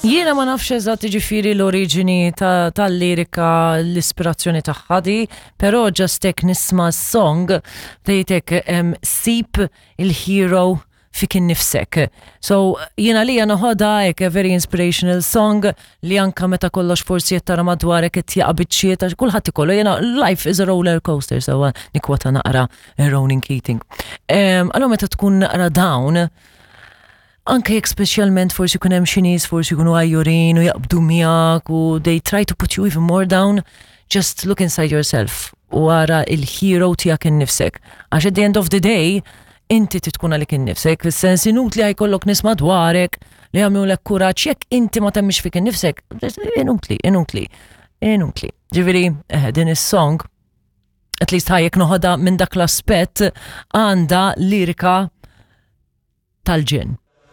Jiena ma nafx eżatt jiġifieri l-oriġini tal-lirika, l-ispirazzjoni tagħha di, però just hekk nisma' s-song tgħidek sib il-hero fik innifsek. So jiena lija noħodha hekk a very inspirational song li anka meta kollox forsi qed tara madwarek qed jaqa' biċċiet għax kulħadd ikollu jiena life is a roller coaster sewwa nikkwota naqra Ronan Keating. Allura meta tkun naqra down, anke jekk speċjalment forsi jkun hemm xi nies forsi jkunu għajjurin u jaqbdu miegħek u they try to put you even more down, just look inside yourself u ara il-hero tiegħek innifsek. Għax at the end of the day, inti trid tkun għalik innifsek, fis-sens inutli ħajkollok nies madwarek li jagħmlulek kuraġġ jekk inti ma temmix fik innifsek, inutli, inutli, inutli. Ġifieri, eh, din is-song at least ħajjek noħodha minn dak l-aspett għandha lirika tal-ġen.